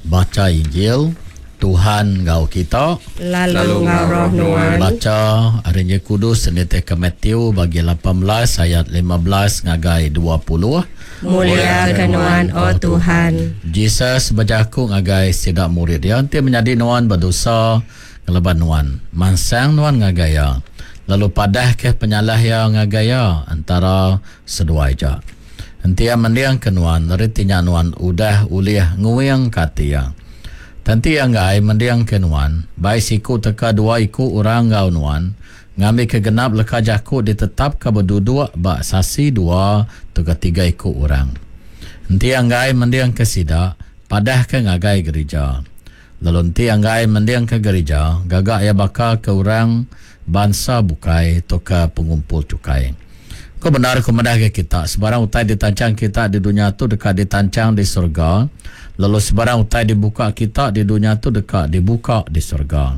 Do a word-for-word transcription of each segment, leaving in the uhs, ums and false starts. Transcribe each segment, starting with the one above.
Bacha Injil Tuhan enggau kita. Lalu enggau roh nuan. Bacha ari Injil Kudus nitihka Matthew bagi lapan belas ayat lima belas ngagai dua puluh. Mulia ke nuan, O Tuhan. Jesus bejaku ngagai sida murid iya, enti menyadi nuan bedosa ngelaban nuan, mansang nuan ngagai iya, lalu padahka penyalah iya ngagai iya antara seduai ja. Enti iya mendingka nuan, reti nya nuan udah ulih nguingka ati iya. Enti iya enggai mendingka nuan, bai siku teka dua iku orang enggau nuan, ngambika genap leka jaku ditetapka beduduk ba sasi dua teka tiga iku orang. Enti iya enggai mendingka sida, padahka ngagai gerija. Lalu enti iya enggai mendingka gerija, gaga iya baka ke orang bansa bukai tauka pengumpul cukai. Ku bendar ku madah ke kita, sebarang utai ditanchang kita di dunya tu deka ditanchang di surga, lalu sebarang utai dibuka kita di dunya tu deka dibuka di surga.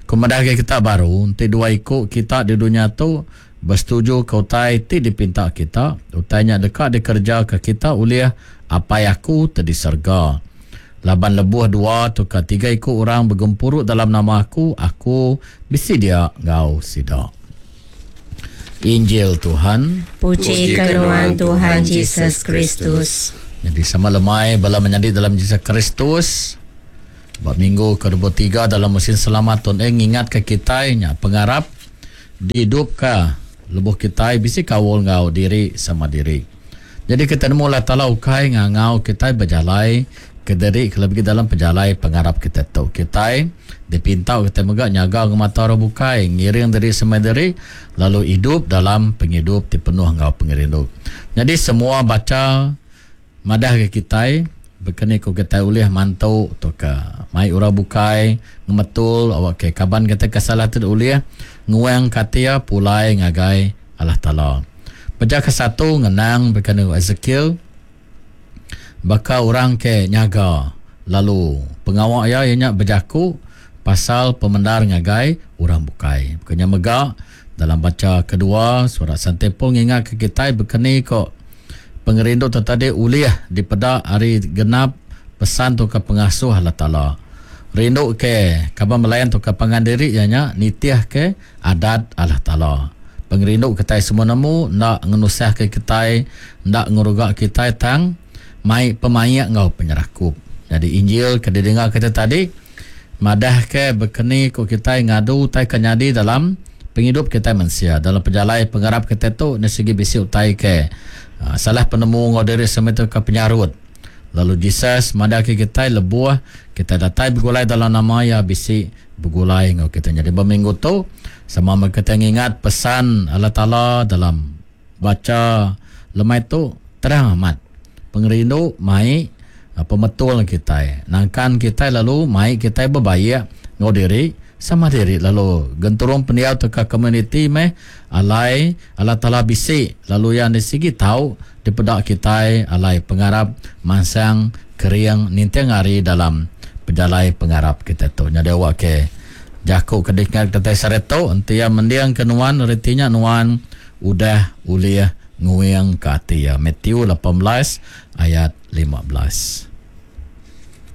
Ku madah ke kita baru, enti dua iku kita di dunya tu bersetuju ke utai ti dipinta kita, utai nya deka dikerja ke kita oleh Apai aku ti di surga. Laban lebuh dua atau tiga iku orang begempuru dalam nama aku, aku bisi dia enggau sida. Injil Tuhan. Puji ke nuan Tuhan Jesus Kristus. Jadi sama lemai bala menyadi dalam Jesus Kristus. Ba minggu ke dua puluh tiga dalam musim selamat Tuhan eh ngingat ke kita nya pengarap dihidupka lebuh kita bisi kaul ngau diri sama diri. Jadi kita nemu Allah Taala ukai ngangau kita berjalai ke diri kelebih dalam pejalai pengarap kita tu. Kita dipinta kita mega nyaga ngemata orang bukai, ngiring diri sama diri, lalu hidup dalam penghidup ti penuh ngau pengerindu. Jadi semua baca madah ke kita berkeni ku kita ulih mantu tu ke mai orang bukai ngemetul awak ke kaban kita ke salah tu ulih nguang katia pulai ngagai Allah Taala. Baca ke satu ngenang berkeni Ezekiel baka orang ke nyaga lalu pengawak ia ianya berjaku pasal pemendar ngagai orang bukai. Bukannya mega dalam baca kedua surat Sante Paul ngingat ke kita berkeni kok pengerindu tu tadi ulih dipedak hari genap pesan tu ke pengasuh Allah Taala. Rindu ke kaban melayan tu ke pangan diri ianya nitih ke adat Allah Taala. Pengerindu kita semua nemu ndak ngenusah ke kita, ndak ngeruga kita tang mai pemayak ngau penyerakup. Jadi Injil ke didengar kita tadi madah ke berkeni ko kita ngadu utai ke nyadi dalam penghidup kita manusia. Dalam perjalai pengarap kita tu ni segi bisi utai ke uh, salah penemu ngau diri sama tu ke penyarut. Lalu Jesus madah ke kita lebuh kita datai bergulai dalam nama ya bisi bergulai ngau kita. Jadi berminggu tu sama kita ngingat pesan Allah Taala dalam baca lemai tu terang amat. Pengerindu mai pemetul kita, nangkan kita lalu mai kita berbaik ngau diri sama diri lalu genturung pendiau teka komuniti meh alai Allah Taala bisi lalu yang di sigi tau dipedak kita alai pengarap mansang kering ninting hari dalam pejalai pengarap kita tu. Jadi awak ke jaku ke dikenal kita sareto enti ya mendiang ke nuan retinya nuan udah ulih nguing ke ati ya. Matthew lapan belas ayat lima belas.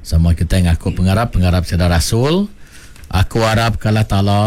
Sama kita ngaku pengarap pengarap sida rasul. Aku harap ke Allah Taala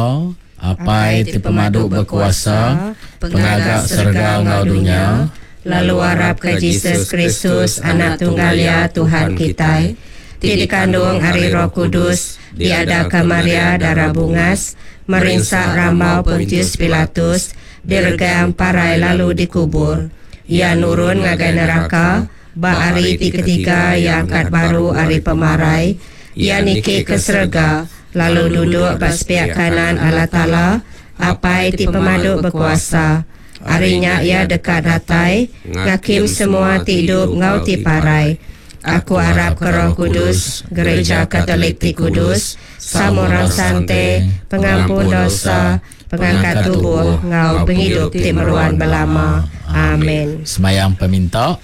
Apai ti pemadu berkuasa, pengaga serga ngau dunya, lalu harap ke Jesus Kristus anak tunggal ya Tuhan kita, ti dikandung ari Roh Kudus, diadaka Maria darah bungas, merinsa rambau Pontius Pilatus, diregang parai lalu dikubur. Ia nurun ngagai neraka, ba hari ti ketiga ia angkat baru hari pemarai, ia niki ke serga, lalu duduk ba sepiak kanan Allah Taala, Apai ti pemadu berkuasa. Harinya ia dekat datai, ngakim semua ti hidup ngau ti parai. Aku harap ke Roh Kudus, Gereja Katolik ti Kudus, Samurang Sante, pengampun dosa, pengangkat tubuh ngau penghidup ti meruan belama. Amin. Semayang peminta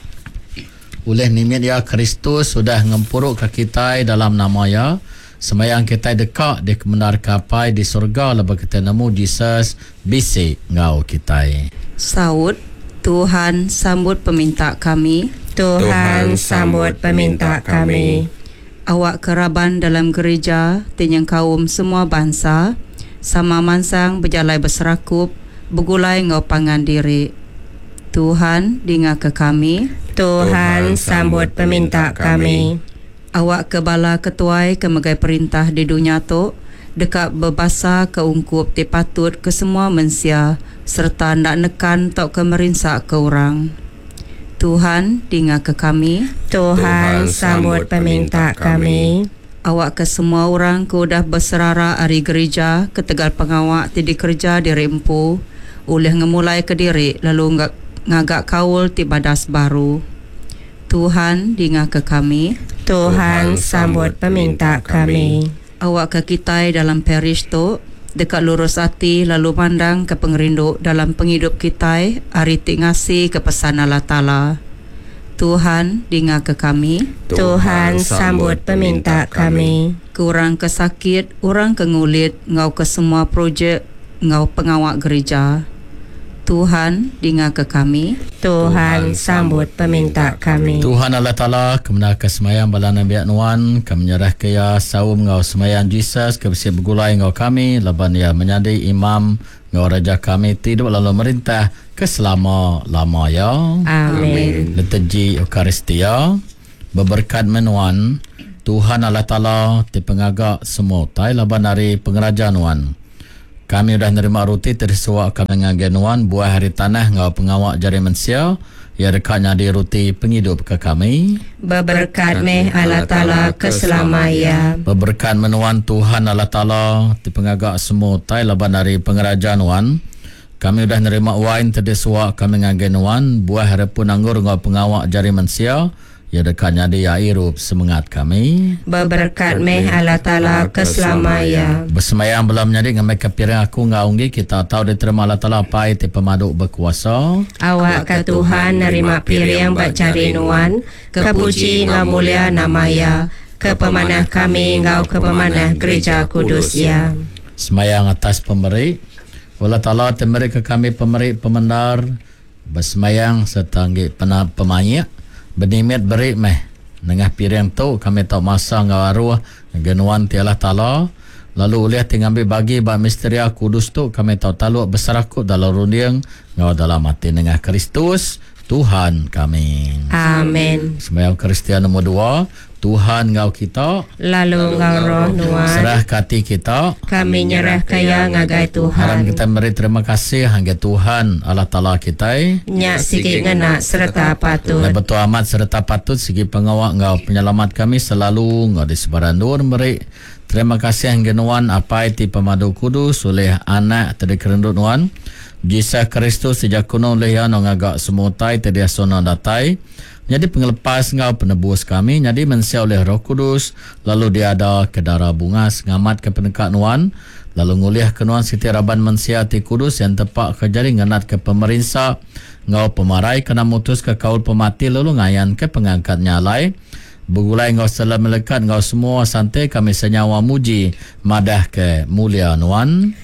oleh nimit ya Kristus sudah ngempuruk ke kita dalam nama ya. Semayang kita dekat di kemendar kapai di surga lepas kita nemu Jesus bisi ngau kita. Saud Tuhan sambut peminta kami. Tuhan sambut peminta kami. Awak ke raban dalam gereja ti nyengkaum semua bansa sama mansang bejalai beserakup begulai enggau pangan diri. Tuhan, dingaka kami. Tuhan, sambut peminta kami. Awak ke bala ketuai ke megai perintah di dunya tu deka bebasa ke ungkup ti patut ke semua mensia sereta enda nekan tauka merinsaka orang. Tuhan, dingaka kami. Tuhan, sambut peminta kami. Awak ke semua orang ke udah beserara ari gereja ketegal pengawa ti dikereja diri empu ulih ngemulai ke diri lalu ngaga kaul ti badas baru. Tuhan, dingaka kami. Tuhan, sambut peminta kami. Awak ke kitai dalam parish tu deka lurus ati lalu mandang ke pengerindu dalam pengidup kitai ari ti ngasi ke pesan Allah Taala. Tuhan, dingaka kami. Tuhan, sambut peminta kami. Ke orang ke sakit, orang ke ngulit, ngau ke semua projek, ngau pengawa gereja. Tuhan, dingaka kami. Tuhan, sambut peminta kami. Tuhan Allah Taala, kemenar ke semayang bala nabiak nuan, kami menyerah ke ya saum ngau semayang Jesus ke besi begulai ngau kami, laban ya menyadi imam ngau raja kami tidur lalu merintah ke selama-lama ya. Amin. Liturgi Eucharistia, beberkat menuan Tuhan Allah Taala ti pengagak semua utai laban ari pengeraja nuan. Kami udah nerima roti tersuak kami ngagai nuan buah hari tanah ngau pengawak jari mensia ia dekat nyadi roti penghidup ke kami. Beberkat meh Allah Taala ke selama ya. Beberkat menuan Tuhan Allah Taala ti pengagak semua utai laban ari pengeraja nuan. Kami udah nerima wain tersuak kami ngagai nuan buah hari pun anggur ngau pengawak jari mensia ia dekat nyadi airup semangat kami. Beberkat meh Allah Taala ke selama ya. Bersemayang belum menyadi ngamai ke piring aku ngau unggi kita tahu diterima Allah Taala pai ti pemaduk berkuasa. Awak ke Tuhan nerima piring bak jari nuan, kepuji ngau mulia nama ya, ke pemanah kami ngau ke pemanah gereja kudus ya. Semayang atas pemeri Allah Taala temeri ke kami pemeri pemendar bersemayang serta nggi pemayak benimit beri meh nengah piring tu kami tau masa ngau aruh genuan ti Allah Taala lalu ulih ti ngambil bagi ba misteria kudus tu kami tau taluk berserakup dalam runding ngau dalam hati nengah Kristus Tuhan kami. Amin. Sembahyang Kristian nombor dua, Tuhan ngau kita lalu ngau roh nuan. Serah hati kita kami nyerah kaya ngagai Tuhan. Haram kita meri terima kasih hingga Tuhan Allah Taala kita. Nyak sigi ngena serta patut. Dan betul amat serta patut sigi pengawak ngau penyelamat kami selalu ngau di sebaran dur meri terima kasih hingga nuan apai ti pemadu kudus oleh anak terdikerendut nuan Jesus Kristus sejak kuno oleh ya ngagak semua utai terdia sona datai jadi pengelepas ngau penebus kami jadi mensia oleh Roh Kudus lalu dia ada ke darah bunga ngamat ke penekak nuan lalu ngulih ke nuan siti raban mensia ti kudus yang tepak ke jari ngenat ke pemerinsa ngau pemarai kena mutus ke kaul pemati lalu ngayan ke pengangkat nyalai begulai ngau selam melekat ngau semua santai kami senyawa muji madah ke mulia nuan.